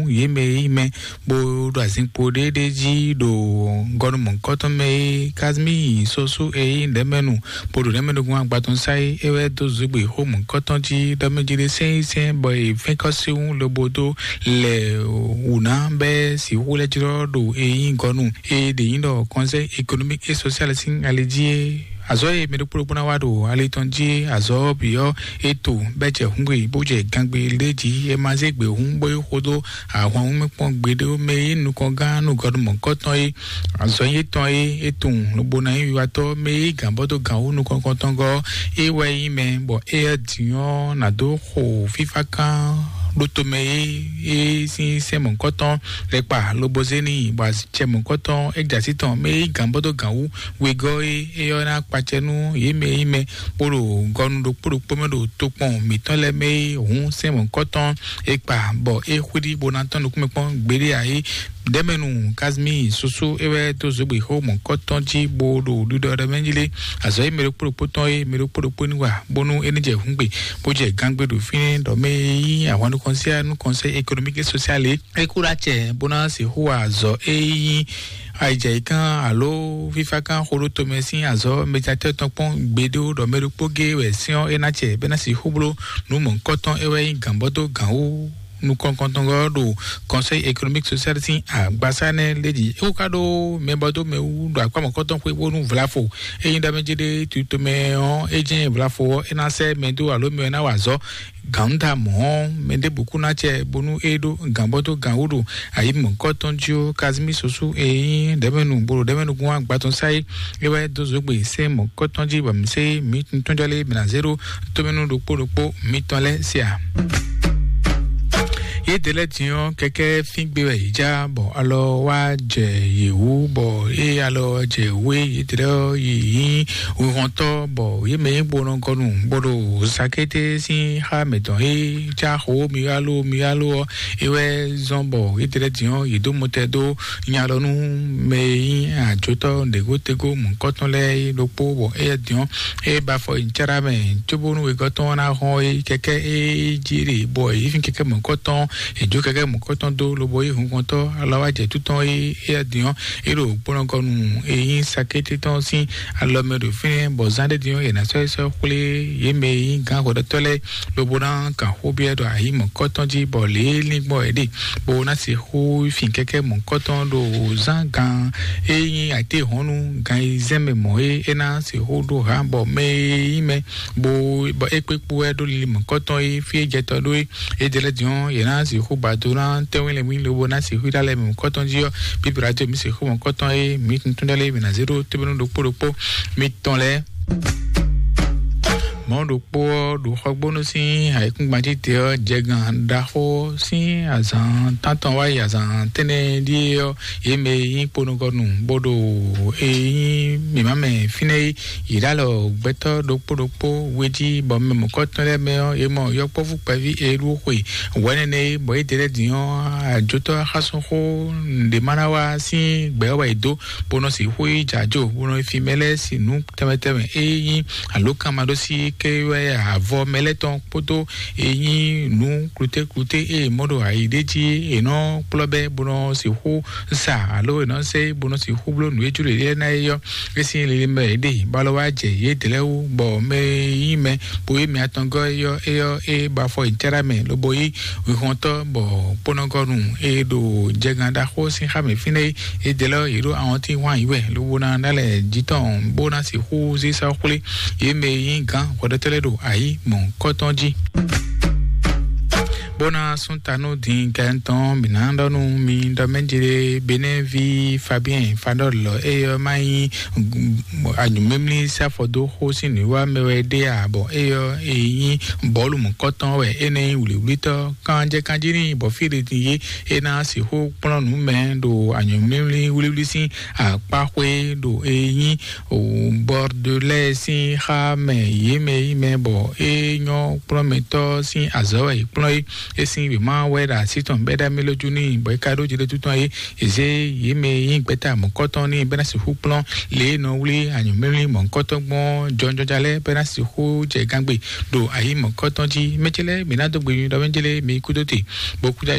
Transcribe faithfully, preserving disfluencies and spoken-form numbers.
yě mɛ e nyí mɛ bó ɖo azinkpo ɖéɖé jí ɖo gɔnu mɔ̌hunkɔtɔn mɛ é. Kazimíi Sosú e nyí ɖɛ̌mɛnu bó ɖo ɖɛ̌mɛnugun agbatɔn sá é, é wɛ dó zǔgbè xó mɔ̌hunkɔtɔn jí ɖɔ mɛ jí ɖé sɛ́n sɛ́n bɔ è fɛ́n kɔ́ sín wú lobo dó lɛ wǔ ná bɛ́ sixú lɛ́ jlɔ́ ɖo e nyí gɔnu e ɖě nyí ɖɔ Conseil économique et social sín ali jí é. Azɔ̌ e mɛ ɖokpó ɖokpó ná wa ɖo ali tɔn jí é, azɔ̌ bǐ ɔ́, é to bɛ́ jɛ hǔngbe bó jɛ gangbe lé jí. È ma zé gbě hǔn bó yi xo dó ahwan wú mɛ kpɔ́n gbeɖé mɛ e nukɔn gán nú gɔɖu mɔ̌kɔtɔn é. Azɔ̌ yětɔn é, é tunwun lobo ná nyí wiwatɔ́ mɛ e gǎn bɔ dó gǎn wú nukɔn kɔntɔn gɔ́ é wɛ nyí mɛ, bɔ éyɛ́ din ɔ́ ná dó xo fífá kán ɖó tomɛ é, é sín sɛ́n mɔ̌kɔtɔn lɛ́ kpa lobo zé n'i, bɔ azicɛ mɔ̌kɔtɔn é jɛ así tɔn mɛ e gǎn bɔ dó gǎn wú wegɔ́ é, é ɔ́ ná kpacɛ nú yě mɛ e nyí mɛ bó ɖo gɔnu ɖokpó ɖokpó mɛ ɖo tokpɔn mǐtɔn lɛ́ɛ mɛ é hǔn sɛ́n mɔ̌kɔtɔn é kpa, bɔ é xwíɖí bó ná tɔ́n nukúnmɛ kpɔ́n gbeɖé ǎ é. Ɖɛ̌mɛnu Kazimíi Sosó é wɛ dó zǒgbexó mɔ̌kɔtɔn jí bó ɖo ɖiɖɔ ɖɔ mɛ jí lé. Azɔ̌ e mɛ ɖokpó ɖokpó tɔn é, mɛ ɖokpó ɖokpó ní wa bónú é ní jɛ hǔngbe bó jɛ gangbe ɖo fínɛ́ ɖɔ mɛ e nyí ahwan nukɔn síá nú Conseil économique et social é. É kú ɖó acɛ bó ná sixú wa azɔ̌ e nyí ayijɛyǐkan alo fífákan xó ɖó tomɛ sín azɔ̌ mɛjatɔ́ tɔn kpɔ́n gbeɖé ɖɔ mɛ ɖokpó géé wɛ sɛ́n ɔ́ é ná acɛ bɔ é ná sixú bló nǔ mɔ̌hunkɔtɔn é wɛ nyí gǎnbɔ́ dó gǎn wú nukɔn kɔntɔn ɔ́ ɖo Conseil économique social sín agbasá nɛ́ lé jí. É wú ka ɖó mɛbɔdómɛ wú ɖo akpá mɔ̌kɔtɔn xwé bónú vlafo é nyí ɖɔ mɛ jí ɖé tutomɛ ɔ́, é jɛ́n vlafo ɔ́ é ná sɛ́ mɛ dó alo mɛ ɔ́ ná wa azɔ̌ gǎnda mɔ̌ ɔ́, mɛ ɖěbǔ kú ná acɛ bónú é ɖó gǎnbɔ́ dó gǎn wú ɖo ayǐ mɔ̌kɔtɔn jí ó. Kazimí Sosú e nyí ɖɛ̌mɛnu bolo ɖɛ̌mɛnugún agbatɔn sá é, é wɛ dó zǒgbe sɛ́n mɔ̌kɔtɔn jí bɔ mǐ sé mǐ tɔn jɔ lé mǐ ná zé ɖó tómɛnú ɖokpó ɖokpó mitɔn lɛ́ɛ sia. Yě ɖe lɛ́ din ɔ́, kɛkɛ́ fín gbe wɛ yě já, bɔ alɔ wá jɛ yě wú, bɔ ée alɔ jɛ wú é, yě ɖe lɛ́ ɔ́ yi nyí wihɔntɔ́, bɔ yě mɛ nyí gbonɔgɔnu bó ɖo sakété sín xá mǐtɔn é já xó miyalo miyalo ɔ́, é wɛ zɔ́n bɔ yě ɖe lɛ́ din ɔ́, yě dó mɔtɛ dó nya lɔ nú mɛ e nyí ajotɔ́ ɖěgótegó mɔ̌kɔtɔn lɛ́ɛ é ɖokpó, bɔ éyɛ́ din ɔ́, é ba afɔ yi cɛ́ɖá mɛ, cóbónú wegɔ́ tɔn ná hɔn é kɛkɛ́ é jí ɖe, bɔ yě fín kɛkɛ́ mɔ̌kɔtɔn, yě jó kɛkɛ́ mɔ̌kɔtɔn dó, lobo yí hunkɔntɔ́ alɔ wá jɛ tú tɔn é éyɛ́ din ɔ́, é ɖo kpɔ́nɔkɔnu e nyí sakété tɔn sín alɔ mɛ ɖo fínɛ́, bɔ zán ɖé din ɔ́, yě ná sɔ́ yi sɔ́ xwlé yě mɛ e nyí gǎn hwɛɖɔtɔ́ lɛ́ɛ, lobo ná kan xó byɔ́ ɖo ayǐ mɔ̌kɔtɔn jí, bɔ lě e lín gbɔn é ɖe, bó ná sixú fin kɛkɛ́ mɔ̌kɔtɔn ɖo zán gan e nyí ayǐtéhɔ̌nnu gan yi zɛ́n mɛ mɔ̌ é, é ná sixú ɖó hǎn, bɔ mɛ e nyí mɛ bó bɔ é kpé kpó wɛ ɖó lili mɔ̌kɔtɔn e fí e jɛ tɔ ɖó é. É jɛ lɛ́ din ɔ́, yě ná sixú ba do ná tɛ́nwínlɛ́nwín lobo ná sixú ɖó alɛ mɔ̌kɔtɔn jí ɔ́, bíbélà tó mǐ sixú mɔ̌kɔtɔn e mǐ tuntun ɖɔ lé mǐ ná zé ɖó tóbɛ́nú ɖokpó ɖokpó mitɔn lɛ́ɛ. Mɔ̌ ɖokpó ɔ́ ɖo xɔgbónú sín ayǐkúngban jí te ɔ́, jɛgán ɖaxó sín azǎn tántɔn wá yi azǎn tɛ́nnɛ ɖíe ɔ́, yě mɛ e nyí kponukɔnu bó ɖo e nyí mǐmá mɛ fínɛ́ é, yě ɖo alɔ gbɛtɔ́ ɖokpó ɖokpó we jí, bɔ mɛ mɔ̌kɔtɔn lɛ́ɛ mɛ ɔ́, yě mɔ yɔkpɔ́vú kpɛví e ɖó xwe wɛ̌nɛnɛ é, bɔ yě ɖe lɛ́ din ɔ́, ajotɔ́ xásúnxó nǔɖé ma ná wá sín gbɛ̌ wɛ è dó, bó nɔ sixú yi jǎ jo, bó nɔ yi fin mɛ lɛ́ɛ sin nǔ tɛnmɛ tɛnmɛ e nyí alǒkanmaɖósí ké wɛ avɔ mɛ lɛ́ɛ tɔn kpódó e nyí nǔ klutékluté e è mɔ ɖo ayi ɖé jí è nɔ kplɔ́ bɛ́ bó nɔ sixú sa alo è nɔ sɛ bó nɔ sixú bló nǔ e jló yě lɛ́ɛ ná é ɔ́, é sín lili mɛ é ɖe bó alɔ wá jɛ yě dlɛ́ wú, bɔ mɛ e nyí mɛ bó yí mɛ atɔngɔ́ é ɔ́, é ɔ́ é ba afɔ yi cɛ́ɖá mɛ lobo yí huihɔntɔ́, bɔ kponɔgɔnu e ɖo jɛgán ɖaxó sín xá mɛ fínɛ́ é, é dlɛ́ yě ɖó awɔntín hwan yǐ wɛ lobo ná ná lɛ jǐ tɔn bó ná sixú zé sɔ́ xwlé yě mɛ e nyí gǎn hwɛɖɔtɔ́ lɛ́ɛ ɖo ayǐ mɔ̌hunkɔtɔn jí. Bó ná sún ta nú din kɛntɔn mǐ ná ɖɔ nú mi ɖɔ mɛ jí ɖé Benɛ́ví Fabien Fadɔ́lɔ, é ɔ́ má nyí anyǔmímlí sáfɔdóxó sín nǔwiwa mɛ wɛ ɖé ǎ, bɔ é ɔ́ é nyí bɔ̌lu mɔ̌kɔtɔn wɛ é nɛ́ nyí wlǐwlítɔ́ kanjɛkanjí n'i, bɔ fí ɖé din yé é ná sixú kplɔ́n nǔ mɛ ɖo anyǔmímlí wlíwlí sín akpáxwé ɖo e nyí Bɔrdolɛ́ɛ sín xá mɛ yě mɛ yí mɛ, bɔ é nyɔ́ kplɔ́nmɛtɔ́ sín azɔ̌ wɛ è kplɔ́n é. É sín wěma wɛ ɖo así tɔn bɛ́ ɖ'amí lójú n'i, bɔ é ka ɖó jiɖétú tɔn é. È zé yě mɛ e nyí gbɛ̌ta mɔ̌kɔtɔn n'i bɔ é ná sixú kplɔ́n lě e è nɔ wlí anyǔmlímlí mɔ̌kɔtɔn gbɔn jɔnjɔja lɛ́ɛ bɔ é ná sixú jɛ gángbe ɖo ayǐ mɔ̌kɔtɔn jí. Mɛ ce lɛ́ɛ, mǐ ná dó gbe nyuɖɔ mɛ jélé mi kúdó te, bó kú ɖo